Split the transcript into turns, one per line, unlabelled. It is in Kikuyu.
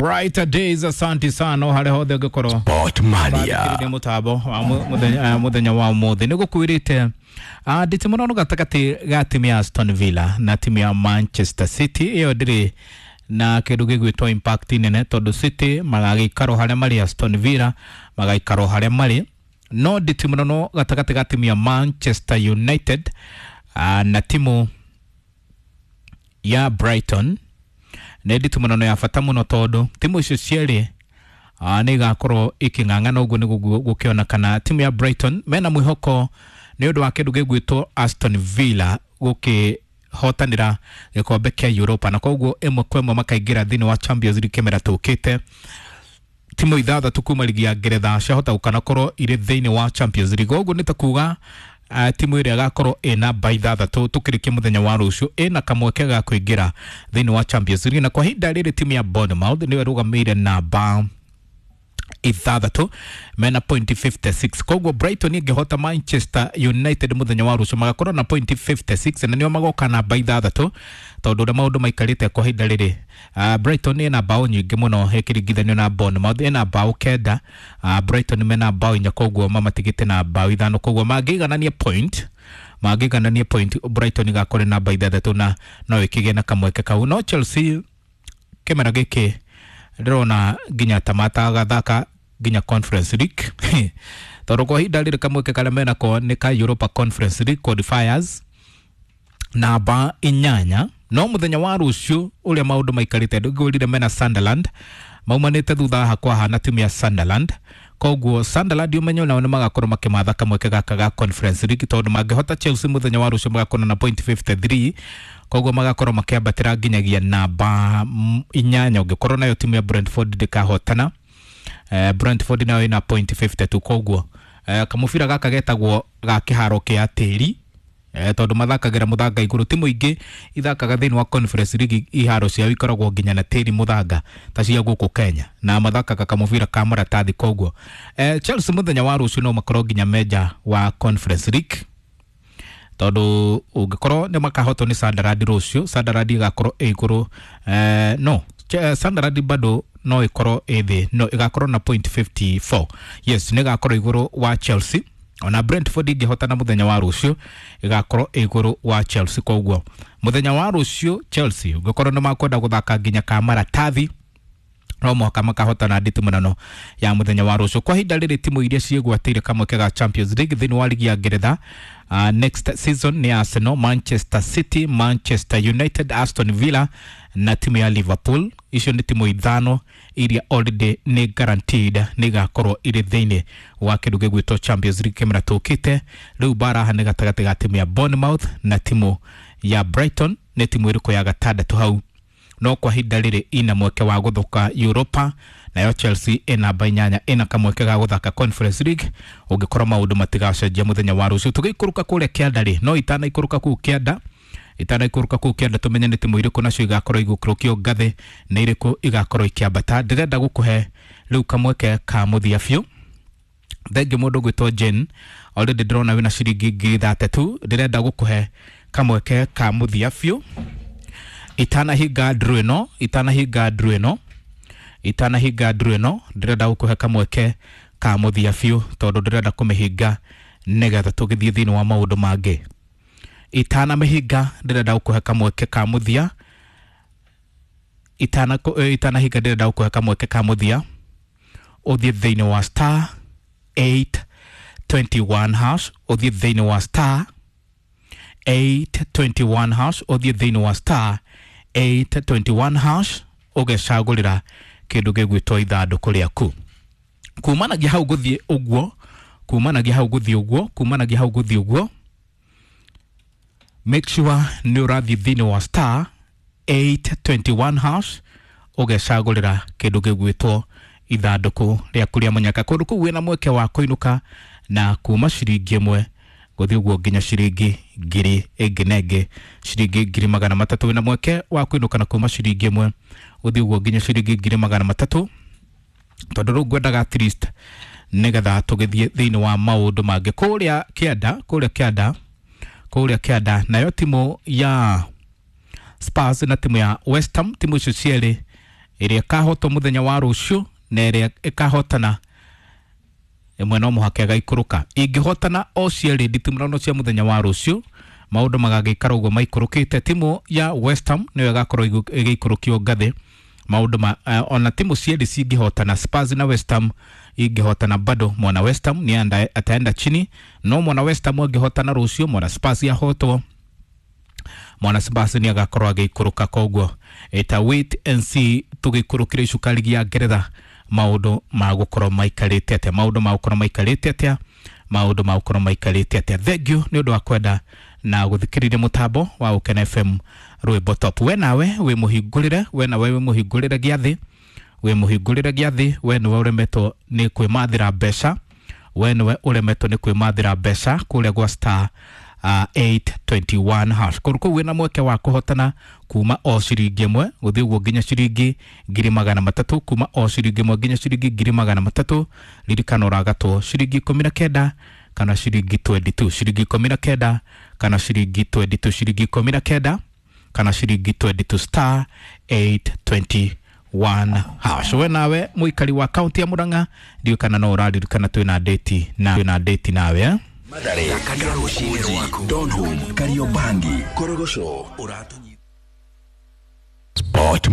Brighter days, asante sana harĩa hothe ũngĩkorwo
Sport Mania.
bathikĩrĩria mũtambo wa mũthenya wa ũmũthĩ. Nĩ gũkwĩrĩte ndĩtĩ mũno gatagatĩ ga timu ya Aston Villa na timu ya Manchester City. Ĩyo ndĩrĩ na kĩndũ gĩgwĩtwo impact nene tondũ City magagĩikaro harĩa marĩ, Aston Villa magaikaro harĩa marĩ, no ndĩtĩ mũno gatagatĩ ga timu ya Manchester United na timu ya Brighton nĩ nditũ mũno ya bata mũno tondũ timu icio cierĩ nĩ igakorwo ikĩng'ang'ana. Ũguo nĩ gũkĩonekana timu ya Brighton mena mwĩhoko nĩ ũndũ wa kĩndũ gĩgwĩtwo Aston Villa gũkĩhotanĩra gĩkombe kĩa Europa, na koguo ĩmwe kwa ĩmwe makaingĩra thĩinĩ wa Champions League kĩmera tũkĩte. Timu ithathatũ kuma ligi ya Ngeretha ciahota gũkanakorwo irĩ thĩinĩ wa Champions League. Ũguo nĩ ta kuga timu ĩrĩa ĩgakorwo ĩ namba ithathatũ tũkĩrĩkia mũthenya wa rũciũ ĩna kamweke ga kũingĩra thĩinĩ wa Champions League. Na kwa ihinda rĩrĩ timu ya Bournemouth nĩyo ĩrũgamĩire namba ithathatũ mena point 56. Koguo Brighton ĩngĩhota Manchester United mũthenya wa rũciũ magakorwo na point 56 na nĩo magoka namba ithathatũ, tondũ ũrĩa maũndũ maikarĩte kwa ihinda rĩrĩ, Brighton ĩna bao nyingĩ mũno ĩkĩringithanio na Bournemouth. Ĩna bao 9, Brighton mena bao 4, koguo mamatigĩte na bao 5. Koguo mangĩiganania point Brighton ĩgakorwo namba ithathatũ na no ĩkĩgĩe na kamweke kau. No Chelsea kĩmera gĩkĩ ndĩrona nginya ta matagathaka nginya Conference League, tondũ kwa ihinda rĩrĩ kamweke karĩa menako nĩ ka Europa Conference League qualifiers, namba 8. No mũthenya wa rũciũ ũrĩa maũndũ maikarĩte, ndĩngwĩrire mena Sunderland maumanĩte thutha hakwa na timu ya Sunderland. Koguo Sunderland ũmenyo nao nĩ magakorwo makĩmatha kamweke gaka ga Conference League, tondũ mangĩhota Chelsea mũthenya wa rũciũ magakorwo na point 53, koguo magakorwo makĩambatĩra nginyagia namba 8 ũngĩkorwo nayo timu ya Brentford ndĩkahotana. Brentford nayo ĩna point 52. Koguo kamũbira gaka getagwo ga kĩharo kĩa tĩri, tondũ mathakagĩra mũthanga igũrũ. Timu ingĩ ithakaga thĩinĩ wa Conference League iharo ciao ikoragwo nginya na tĩri mũthanga ta cia gũkũ Kenya, na mathakaga kamũbira ka maratathi. Koguo Chelsea mũthenya wa rũciũ no makorwo nginya menja wa Conference League, tondũ ũngĩkorwo nĩ makahotwo nĩ Sunderland rũciũ, Sunderland ĩgakorwo ĩ igũrũ, no Sunderland bado no ĩkorwo ĩ thĩ, no ĩgakorwo na point 54. Yes, nĩ ĩgakorwo igũrũ wa Chelsea. Ona Brentford ĩngĩhotana mũthenya wa rũciũ ĩgakorwo ĩ igũrũ wa Chelsea. Koguo mũthenya wa rũciũ Chelsea ũngĩkorwo nĩ makwenda gũthaka nginya ka maratathi, no mũhaka makahotana nditimũrano ya mũthenya wa rũciũ. Kwa ihinda rĩrĩ timu iria ciĩgwatĩire kamweke ga Champions League thĩinĩ wa ligi ya Ngeretha next season nĩ Arsenal, Manchester City, Manchester United, Aston Villa na timu ya Liverpool. Icio nĩ timu ithano iria already nĩ guaranteed nĩ igakorwo irĩ thĩinĩ wa kĩndũ gĩgwĩtwo Champions League kĩmera tũkĩte. Rĩu mbara nĩ gatagatĩ ga timu ya Bournemouth na timu ya Brighton, nĩ timu ĩrĩkũ ya gatandatũ hau. No kwa ihinda rĩrĩ ina mweke wa gũthũka Europa, nayo Chelsea ĩ namba 8, ĩna kamweke ga gũthaka Conference League ũngĩkorwo maũndũ matigacenjia mũthenya wa rũciũ. Tũgĩikũrũka kũrĩa kĩanda rĩ, no itanaikũrũka kũu kĩanda, itanaikũrũka kũu kĩanda tũmenye nĩ timu irĩkũ nacio igakorwo igũkũrũkio ngathĩ, nĩ irĩkũ igakorwo ikĩambata. Ndĩrenda gũkũhe rĩu kamweke ka mũthia biũ. Thengiũ mũndũ ũgwĩtwo Jane, already ndĩrona wĩna ciringi 30,000. Ndĩrenda gũkũhe kamweke ka mũthia biũ itanahinga ndru ĩno, itanahinga ndru ĩno, itanahinga ndru ĩno. Ndĩrenda gũkũhe kamweke ka mũthia biũ tondũ ndĩrenda kũmĩhinga nĩgetha tũgĩthiĩ thĩinĩ wa maũndũ mangĩ. Itanamĩhinga ndĩrenda gũkũhe kamweke ka mũthia. Itanahinga ndĩrenda gũkũhe kamweke ka mũthia ũthiĩ thĩinĩ wa star 821 hash, ũthiĩ thĩinĩ wa star 821 hash, ũthiĩ thĩinĩ wa star 821 hash ũgecagũrĩra kĩndũ gĩgwĩtwo ithandũkũ rĩaku. Kumanagia hau gũthiĩ ũguo, kumanagia hau gũthiĩ ũguo, kumanagia hau gũthiĩ ũguo, make sure nĩ ũrathiĩ thĩinĩ wa star 821 hash ũgecagũrĩra kĩndũ gĩgwĩtwo ithandũkũ rĩaku rĩa mũnyaka. Kũndũ kũu wĩna mweke wa kũinũka na kuma ciringi 1 gũthiĩ ũguo nginya ciringi ngiri ĩngĩ na ĩngĩ, ciringi 300,000. Wĩna mweke wa kũinũka na kuma ciringi 1 gũthiĩ ũguo nginya ciringi 300,000, tondũ rĩu ngwendaga at least nĩgetha tũgĩthiĩ thĩinĩ wa maũndũ mangĩ kũrĩa kĩanda, kũrĩa kĩanda, kũrĩa kĩanda. Nayo timu ya Spurs na timu ya West Ham, timu icio cierĩ Ĩrĩa ĩkahotwo mũthenya wa rũciũ na ĩrĩa ĩkahotana ĩmwe no mũhaka ĩgaikũrũka. Ingĩhotana o cierĩ nditimũrano cia mũthenya wa rũciũ, maũndũ magagĩikara ũguo maikũrũkĩte. Timu ya West Ham nĩyo ĩgakorwo ĩgĩikũrũkio ngathĩ. Maũndũ ma ona timu cierĩ cingĩhotana, Spurs na West Ham ingĩhotana, bado mwana West Ham ni ataenda chini. No mwana West Ham angĩhotana rũciũ, mwana Spurs ahotwo, mwana Spurs nĩ agakorwo agĩikũrũka. Koguo ita wait and see tũgĩikũrũkĩra icuka ligi ya Ngeretha maũndũ magũkorwo maikarĩte atĩa, maũndũ magũkorwo maikarĩte atĩa, maũndũ magũkorwo maikarĩte atĩa. Thank you nĩ ũndũ wa kwenda na gũthikĩrĩria mũtambo wa Ũkena FM rwĩmbo top. We nawe wĩ mũhingũrĩre, we nawe wĩ mũhingũrĩre gĩathĩ, wĩ mũhingũrĩre gĩathĩ. We nĩwe ũremetwo nĩ kwĩmathĩra mbeca, we nĩwe ũremetwo nĩ kwĩmathĩra mbeca kũrĩa gwa star 821 hash. Kũndũ kũu wĩna mweke wa kũhotana kuma o ciringi 1 gũthiĩ ũguo nginya ciringi 300,000, kuma o ciringi 1 nginya ciringi 300,000. Ririkana ũragatwo ciringi 19 kana ciringi 22, ciringi 19 kana ciringi 22, ciringi 19 kana ciringi 22, star 821 hash. We nawe mũikari wa kaunti ya Murang'a, ndiũĩ kana no ũraririkana twĩna date na twĩna date nawe, eh?
Mathare, Karuchi, Donholm, Kariobangi, Korogosho, Ũratũnyita Sport.